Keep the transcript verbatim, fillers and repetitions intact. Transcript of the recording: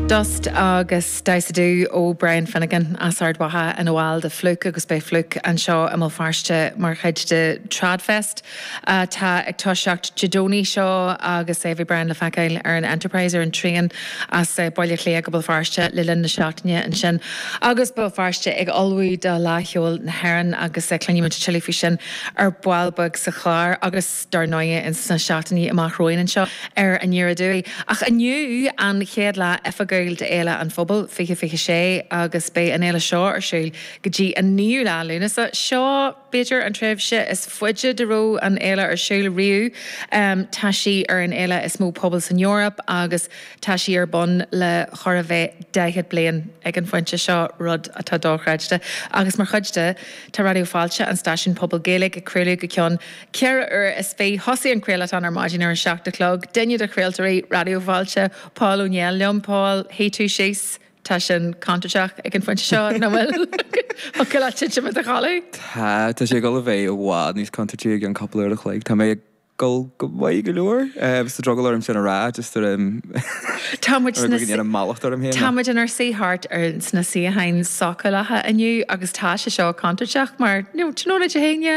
Dust agus Damhsa Dubh ó Brian Finnegan as Ard Mhacha ina bhall de Flook agus beidh Flook anseo i mBéal Feirste mar chuid de Tradfest atá ag toiseacht Dé Domhnaigh seo agus é bhí Brian le feiceáil ar an Enterprise ar an traein as Baile Átha Cliath go Béal Feirste le linn na seachtaine ansin. Agus Béal Feirste ag ullmhú do Fhleadh Cheoil na hÉireann agus cluinfimid tuilleadh faoi sin ar ball beag sa chlár agus dar ndóigh in sna seachtainí amach romhainn anseo ar Aniar Aduaidh. Ach inniu an chéad lá oifigiúil d'Fhéile an Phobail fiche fiche sé agus beidh an fhéile seo ar siúl go dtí an naoú lá Lúnasa. Seo b'fhéidir an tréimhse is faide dá raibh an fhéile ar siúl riamh. Um, tá sí ar an fhéile is mó pobal san Eoraip agus tá sí ar bun le chóir a bheith daichead bliain ag an phointe seo rud atá dochreidte. Agus mar chuid de tá Raidió Fáilte an stáisiún pobal Gaeilge ag craoladh go ceann ceithre uair is fiche thosaigh an craolachán ar maidin ar an seacht a chlog, duine de chraoltóirí Raidió Fáilte Paul Ó Néill liom Paul shuigh tú síos tá sin contúirteach ag an phointe seo nach bhfuil go le titim i do chodladh? Tá tá sé ag dul a bheith i bhfad níos contúirtí ag an cúpla uair a chloig. Tá mé ag dul go maith go leor sa drogall orm sin a rá just ar Tá muid ar go mallacht orm féin. Tá muid inár suí thart ar sna suíocháin socálacha inniu agus tá sé seo contúirteach mar nó tráthnóna Dé hAoine